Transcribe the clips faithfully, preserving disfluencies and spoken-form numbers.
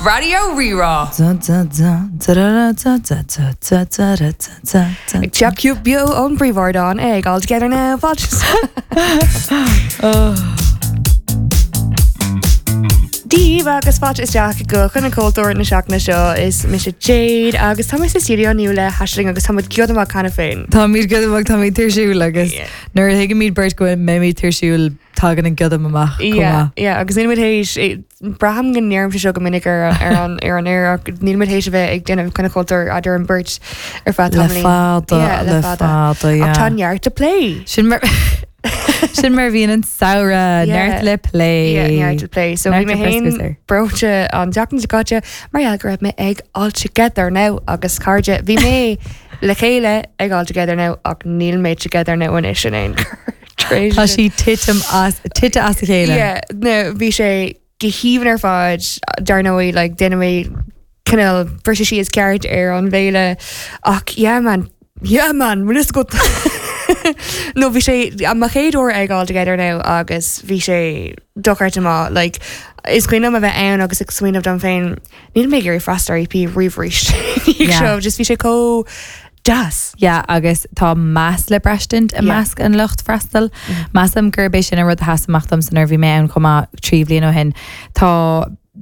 Raidió Rí-Rá. Ag teacht beo ón bpríomhardán ag All Together Now fáilte. Dia daoibh agus fáilte isteach go Coinne Cultúir na seachtaine seo is mise Jade agus tá mé sa studio inniu le hAisling agus tá muid giota amach cheana féin. Táimid giota amach tá mé tuirsiúil agus Yeah. nuair a thuigimid beirt go mbeimid tuirsiúil tagann an giota amach chomh Yeah, maith. yeah, agus níl muid théis braithim go ndeirimse seo go minic ar ar an ar an aer ach níl muid théis a bheith ag déanamh Coinne Cultúir idir an beirt ar feadh Le tamaillín. fada, Yeah, le fada, Ach yeah. tá neart le plé. Sin mar Sin mar bhíonn an samhradh Yeah. neart le plé. Yeah, neart le plé. So bhí Neart mé le féin breoscús air. breoite an tseachtain seo caite mar gheall go raibh mé ag All Together Now agus cairde bhí mé le chéile ag All Together Now ach níl mé together now anois in aon chor. Tá sí titim as tite as a chéile. Yeah, no, bhí sé go haoibhinn ar fad dar ndóigh like déanfaidh mé cineál briseadh síos ceart ar an bhféile ach yeah man yeah man bhfuil fhios agat No bhí sé mo chéad uair ag All Together Now agus bhí sé dochreidte maith like is cuimhin liom a bheith ann agus ag smaoineamh dom féin níl mé ag iarraidh freastal ar EP riamh arís. Yeah. Seo just bhí sé chomh deas. Yeah, agus tá meas le braistint i Yeah. measc an lucht freastail. Measaim gurb é sin an rud a sheas amach domsa nuair a bhí mé ann chomh maith trí bhliain ó shin. Tá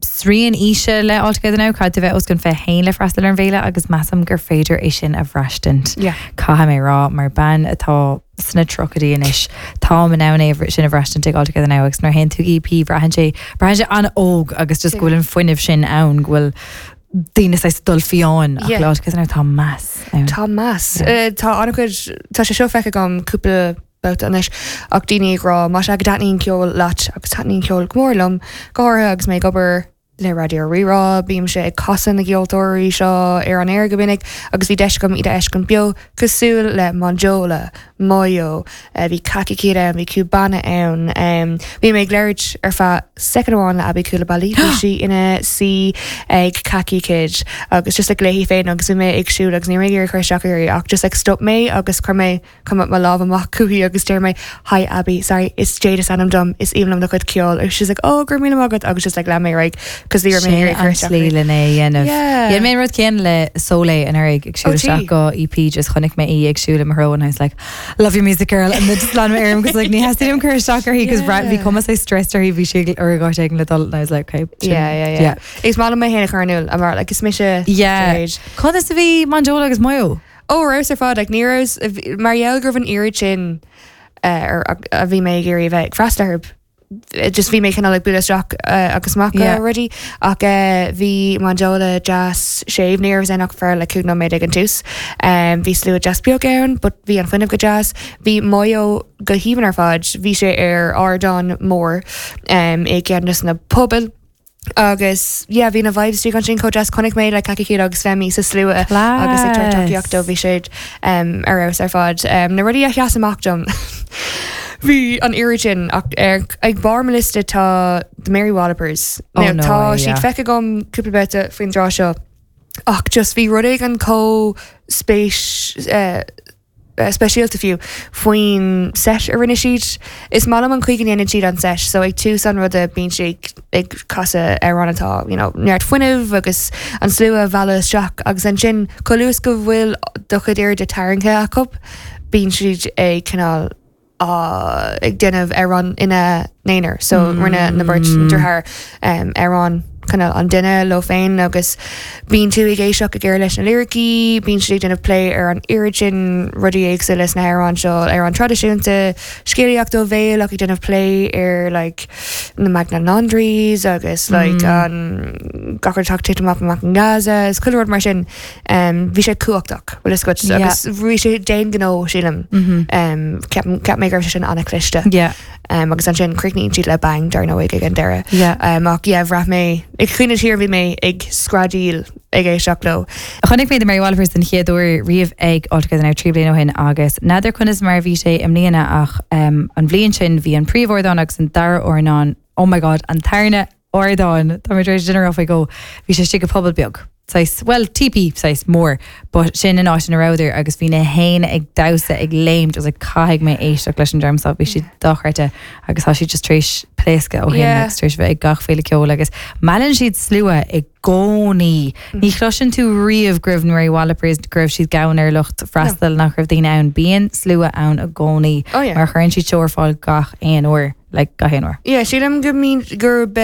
srian aoise le All Together Now caithfidh tú bheith os cionn fiche haon le freastal ar an bhféile agus measaim gur féidir é sin a bhraistint. Yeah. Caithfidh mé rá mar bean atá sna tríochaidí anois Tá in ann é sin a bhraistint ag All Together Now agus nuair a théann tú EP braitheann sé braitheann sé an-óg agus just go bhfuil an fuinneamh sin ann go bhfuil daoine saghas dul fiáin ach Yeah. le All Together Now tá meas ann. Tá meas. Yeah. Uh, Tá an-chuid tá sé seo feicthe agam cúpla babhta anois ach daoine ag rá má sé go dtaitníonn ceol leat agus taitníonn ceol go mór liom go háirithe agus mé ag obair le Raidió Rí-Rá, bímse ag casadh na gceoltóirí seo ar an aer go minic agus bhí deis agam iad a fheiscint beo cosúil le Monjola, Moyo, uh, bhí Kaki Kid ann, bhí Cubana ann, um, bhí mé ag labhairt ar feadh soicind amháin le Aby Coulibaly, bhí sí ina suí ag Kaki Kid agus just like léi féin agus bhí mé ag siúl agus ní raibh mé ag cur isteach uirthi ach just like stop mé agus chuir mé come mo lámh amach chuici agus deir mé hi Aby sorry is Jade is ainm dom is aoibhinn liom do chuid ceoil agus she's like oh go raibh míle maith agat agus just like lean mé right cos bhí mé Sin ag cur an isteach slí uirthi. lena dhéanamh. Yeah. Dhein mé an rud céanna le Soleil anuraidh ag siúl Oh, gee. isteach go EP just chonaic mé í ag siúl i mo threo and I was like love your music girl and then just lean mé orm cos like ní theastaigh uaim cur isteach uirthi cos Yeah. bhí cuma saghas stressed uirthi bhí sí ar gáit ag le dul and I was like okay sin- Yeah, yeah, yeah. Is maith liom mé féin a chur in iúl mar like is mise Yeah. Jade. Conas a bhí Monjola agus Moyo? Ó raibh ar fad like ní raibh mar gheall go raibh an oiread sin uh, ar a bhí mé ag iarraidh bheith ag freastal orthu. Just bhí mé cineál like bualadh isteach uh, agus amach Yeah. already ach uh, bhí Monjola deas séimh ní raibh ann ach fear le cúig nóiméad ag an tús. Um, bhí slua deas beag ann, but bhí an fuinneamh go deas. Bhí Moyo go haoibhinn ar fad, bhí sé ar ardán mór um, i gceann de na pubaill. Agus yeah, bhí na vibes an sin chomh deas chonaic mé le Kaki Kid agus Femi sa slua agus ag tabhairt tacaíocht dó bhí siad um, ar fheabhas ar fad. Um, na rudaí a sheas amach dom. Bhí an oiread sin ach ar ag barr mo liosta tá the Mary Wallopers. Oh, Now, no tá way, siad yeah. feicthe agam cúpla babhta faoin dtráth seo ach just bhí rud éigin chomh spéis uh, uh, speisialta fiú faoin set a rinne siad. Is maith liom an chaoi go ndéanann siad an set, so ag tús an ruda bíonn sé ag, ag casadh amhrán atá you know, neart fuinnimh agus an slua a mhealladh isteach agus ansin chomh luath go bhfuil do chuid airde tarraingthe acu, bíonn siad ag cineál uh, ag déanamh amhrán ina n-aonar, so mm. rinne na beirt deartháir um, amhrán cineál an duine leo féin agus bíonn tú ag éisteacht go géar leis na liricí, bíonn siad ag déanamh plé ar an oiread sin rudaí éagsúla sna hamhráin seo ar an traidisiúnta scéalaíocht ó bhéal ach ag déanamh plé ar like, na Magdalene Laundries agus like, an gach rud atá ag titim amach amach in Gaza is chuile rud mar sin um, bhí sé cumhachtach bhfuil fhios agat Yeah. agus bhí sé d'aon ghnó sílim Mhm. um, ceap ceap mé go raibh sé sin an-chliste Yeah. um, agus ansin críochnaíonn siad le bang dar ndóigh ag an deireadh. Yeah. Um, ach yeah, bhraith mé ag cuimhneamh siar bhí mé ag screadaíl ag éisteacht leo. Chonaic mé The Mary Wallopers den chéad uair riamh ag All Together Now trí bliana ó shin agus n'fheadar conas mar bhí sé i mbliana ach um, an bhliain sin bhí an príomhardán agus an dara ardán oh my god an tarna ardán Tá mé tar éis dinner off I go bhí sé istigh i bpuball beag. Saghas, well, teepee saghas mór, but sin an áit ina rabhadar agus bhí na héinne ag damhsa ag léimt agus like, caithfidh mé éisteacht leis an dream seo bhí siad dochreidte agus tá siad just tar éis pléascadh ó shin Yeah. agus tar éis bheith ag gach féile ceoil agus meallann siad slua i gcónaí. Ní chloiseann tú riamh go raibh Mary Wallopers go raibh siad gann ar lucht freastail nach raibh daoine ann bíonn slua ann i gcónaí Oh, yeah. mar chuireann siad seó ar fáil gach aon uair, like gach aon uair. Yeah, sílim go mín gurb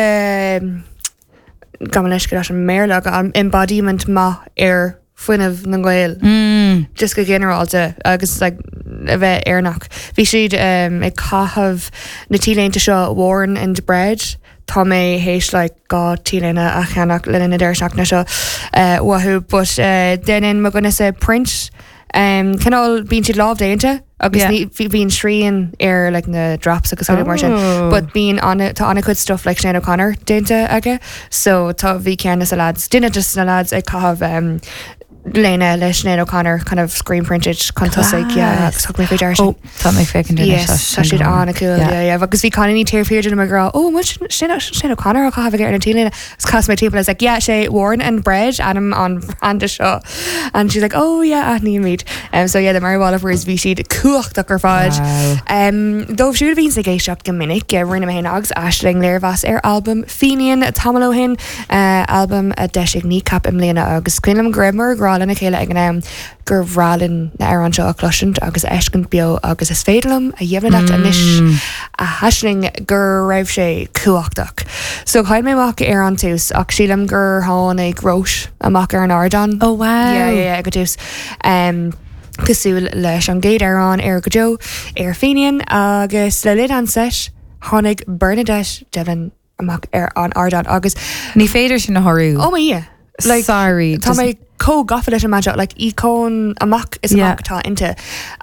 gabh mo leithscéal leis an mBéarla an embodiment maith ar fuinneamh na nGael. Mm. just go ginearálta agus like, a bheith Éireannach. Bhí siad um, ag caitheamh na t-léinte seo Worn and Bred. Tá mé théis like, dhá t-léine a cheannach le na deireadh seachtaine seo uh, uathu, but uh, déanann mo dhuine sa print um, cineál bíonn siad lámhdéanta agus Yeah. ní- bhí- bíonn srian ar like, na drops agus chuile mar sin. Oh. But bíonn an tá an-chuid stuff like Sinéad O'Connor déanta aige, so tá bhí ceann na lads duine just na lads ag caitheamh um, léine le Sinéad O'Connor kind of screen printed chun tosaigh yeah, agus thug mé faoi deara sin. Oh, tá mé féachaint Yes, tá siad an-cool Yeah. yeah, yeah. agus bhí cailíní taobh thiar díom ag rá oh Sinéad O'Connor á caitheamh ar an t-léine agus chas mé timpeall I was like yeah sé Worn and Bred ainm an branda seo and she's like oh yeah aithnímid um, so yeah the Mary Wallopers bhí siad cumhachtach ar fad Wow. Um, dóibh siúd a bhíonn ag éisteacht go minic rinne mé féin agus Aisling léirmheas ar album Fenian tamall ó shin uh, album a d'eisigh Kneecap i mbliana agus cuimhin liom go rabhamar ag rá lena chéile ag an am gur bhreá linn na hamhráin seo a chloisint agus a fheiscint beo agus is féidir liom a dheimhniú anois a Aisling go raibh sé cumhachtach. So chaill mé amach ar an tús ach sílim gur tháinig Róis amach ar an ardán. Oh wow. Yeah, yeah, yeah, go dtús. Um, cosúil leis an gcéad amhrán ar go deo ar Fenian agus le linn an set tháinig Bernadette Devlin amach ar an ardán agus Ní féidir sin a shárú. oh my yeah. Like, Sorry. Tá mé chomh gafa leis an mbean like ícón amach is Yeah. amach atá inti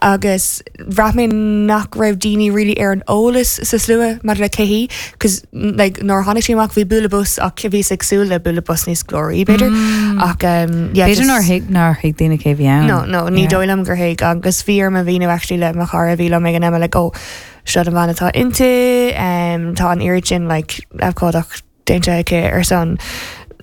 agus bhraith mé nach raibh daoine really ar an eolas sa slua mar le cé hí cos like nuair tháinig sí amach bhí bualadh bos ach bhí ag súil le bualadh bos níos glóraí b'fhéidir ach um, yeah, B'fhéidir just- nár thuig nár thuig daoine cé bhí ann. No, no, ní Yeah. dóigh liom gur thuig agus bhí orm a mhíniú actually le mo chara bhí liom ag an am like oh seo an bhean atá inti um, tá an oiread sin like abhcóideacht déanta aici ar son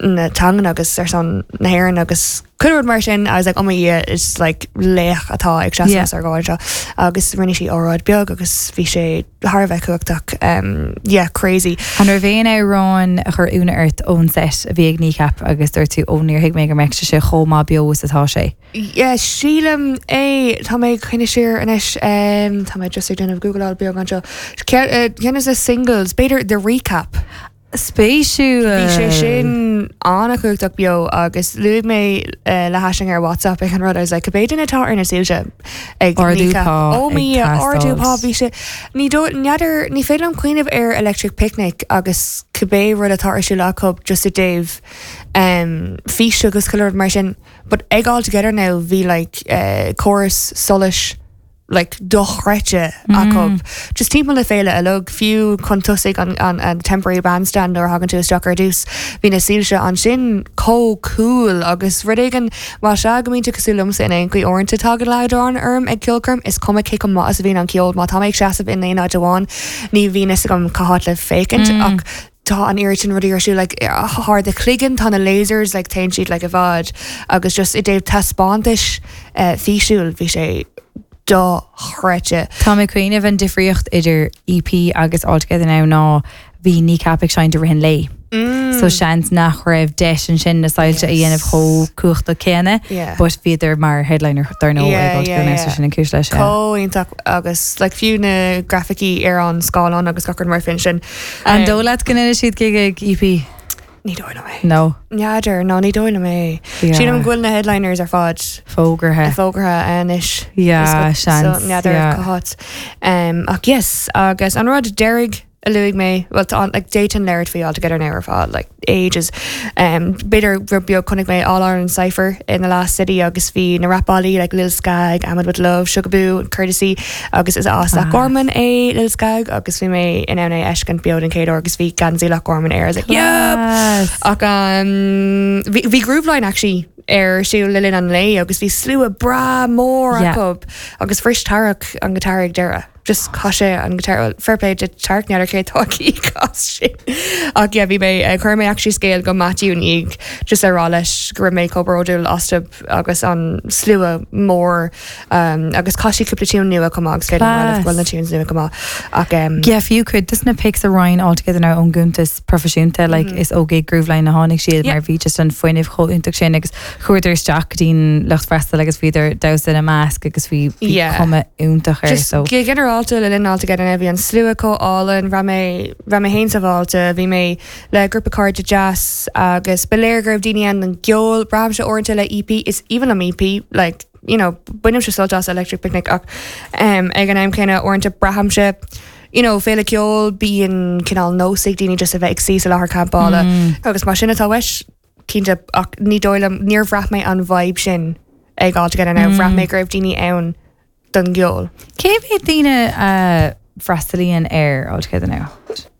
na teangan agus ar son na hÉireann agus chuile rud mar sin I was like oh my yeah it's like laoch atá ag Yeah. seasamh ar gáil seo agus rinne sí óráid beag agus bhí sé thar a bheith cumhachtach um, yeah crazy An raibh aon amhrán a chuir ionadh ort ón set a bhí ag Kneecap agus dúirt tú ó níor thuig mé go mbeadh sé chomh maith beo is atá sé. Yeah, sílim é tá mé chuine siar anois um, tá mé just ag déanamh Googleáil beag anseo. Ceann de na singles, b'fhéidir the recap. Spéisiúil. Bhí sé sin an-chumhachtach beo agus luaigh mé uh, le hAisling ar WhatsApp ag an rud I was like b'fhéidir atá ar na soilse ag Ardú Kneecap. pá Ó ag mí ardú pá teastáil. bhí sé ní dó- n'fheadar ní féidir liom cuimhneamh ar Electric Picnic agus cibé rud atá ar siúl acu just i dtaobh um, fís agus chuile rud mar sin, but ag All Together Now bhí like uh, chorus solais like dochreidte acu. Just timpeall na féile uilig fiú chun tosaigh an, an, an temporary bandstand nuair a thagann tú isteach ar dtús. Bhí na soilse ansin chomh cool agus rud éigin má sea go mbíonn tú cosúil liomsa in aon chaoi uaireanta tagann leadrán orm ag ceolchoirm is cuma cé chomh maith is a bhíonn an ceol má tá mé ag seasamh in aon áit amháin ní bhíonn fhios agam cá háit le féachaint ach tá an oiread sin rudaí ar siúl like thar do chloigeann tá na lasers like téann siad like i bhfad agus just i dtaobh taispeántais uh, físiúil bhí sé dochreidte. Tá mé cuimhneamh an difríocht idir EP agus All Together Now ná bhí Kneecap ag seinnt i rith an lae. Mm. So seans nach raibh deis ansin na soilse a dhéanamh chomh cumhachtach céanna, Yeah. but bhíodar mar headliner dar ndóigh Yeah, ag All Together yeah, Now so yeah. sin an cúis leis. yeah. Có-iontach agus like fiú na grafaicí ar an scáileán agus gach rud mar fin sin. An dóigh leat go ndéanfaidh siad gig ag EP? Ní dóigh liom é. No. N'fheadar ná ní dóigh liom é. Yeah. Sílim go bhfuil na headliners ar fad Fógartha. fógartha anois. Yeah, seans, So n'fheadar yeah. cá háit. Um, ach yes, agus an rud deiridh a luaigh mé well tá like Dayton labhairt faoi All Together Now ar fad like ages um, b'fhéidir rud beag chonaic mé All Ireland Cypher in the last city agus bhí na rapálaí like Lil Skag, Ahmed with Love, Sugaboo, Courtesy agus is as Loch Garman é Lil Skag agus bhí mé in ann é a fheiscint beo den chéad uair agus bhí geansaí Loch Garman air I was like yep Yes. ach um, bhí bhí Grooveline actually ar siúl le linn an lae agus bhí slua breá mór Yeah. acu agus bhris Tarach an guitar ag deireadh. Just chaith sé an guitar fair play de Tark n'fheadar cé tá as sin. Ach yeah, bhí mé uh, chuir mé actually scéal go Matthew ní just ar rá leis go raibh mé chomh bródúil astu agus an slua mór um, agus chaith sí cúpla tune nua chomh maith agus féidir bhfuil na tunes nua chomh maith ach um, Yeah, fiú cuid des na pics a roinn All Together Now ón gcuntas proifisiúnta like, mm. is ó gig Grooveline a tháinig siad Yeah. mar bhí just an fuinneamh chomh iontach sin agus chuadar isteach go dtí'n lucht freastail agus bhíodar damhsa ina measc agus bhí bhí Yeah. cuma iontach air Just so go ginearálta le linn All Together Now bhí an slua chomh álainn raibh mé raibh mé féin sábháilte bhí mé le grúpa cairde deas agus ba léir go raibh daoine ann don gceol braithimse uaireanta le EP is even am EP like you know bainimse sult as Electric Picnic ach um, ag an am céanna uaireanta braithimse you know féile ceoil bíonn cineál nós ag daoine just a bheith ag suí sa láthair campála Mm. agus mar sin atá weis cinnte ach ní dóigh liom níor bhraith mé an vibe sin ag All Together Now bhraith mé go raibh daoine ann don gceol. Cé mhéad daoine uh, freastalaíonn ar All Together Now?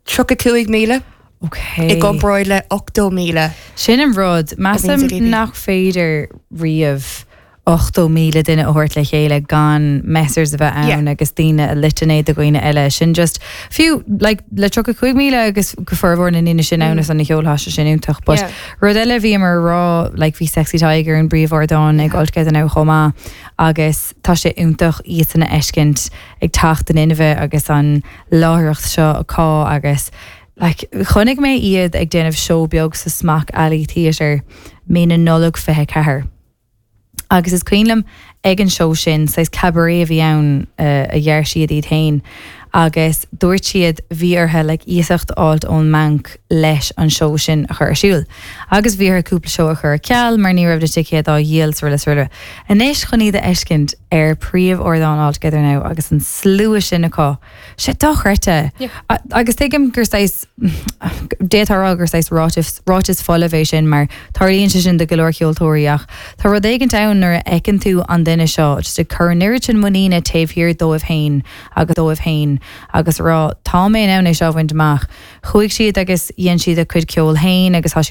Tríocha cúig míle Okay. i gcomparáid le ochtó míle. Sin an rud bhíonn ag measaim EP. nach féidir riamh ochtó míle duine a thabhairt le chéile gan messers a bheith ann Yeah. agus daoine a loiteann do dhaoine eile sin just fiú like, le tríocha cúig míle agus go formhór na ndaoine sin ann is an na ceoltha sin iontach, but Yeah. rud eile bhí mar rá like, bhí Sexy Tiger an bpríomhardán ag All Together Now chomh maith agus tá sé iontach iad san a fheiscint ag teacht in inmhe agus an láithreacht seo acu agus like, chonaic mé iad ag déanamh seó beag sa Smock Alley Theatre mí na Nollag fiche ceathair. Agus is cuimhin liom ag an seó sin saghas cabaret a bhí ann uh, a dhear siad iad féin. agus dúirt siad bhí orthu le iasacht a fháil ón mbanc leis an seó sin a chur ar siúl. Agus bhí orthu cúpla seó a chur ar ceal mar ní raibh na ticéid á dhíol sruile sruile. Anois chun iad a fheiscint ar príomhardán All Together Now agus an slua sin acu. Sé dochreidte. Yeah. A- Agus tuigim gur saghas déarfá gur saghas ráiteas ráiteas folamh é sin mar tarlaíonn sé sin do go leor ceoltóirí ach Tá rud éigin ann nuair a fheiceann tú an duine seo just ag cur an oiread sin muiníne taobh thiar dóibh féin agus dóibh féin agus rá tá mé ann é seo bhaint amach. Chuaigh siad agus dhein siad a cuid ceol féin agus tá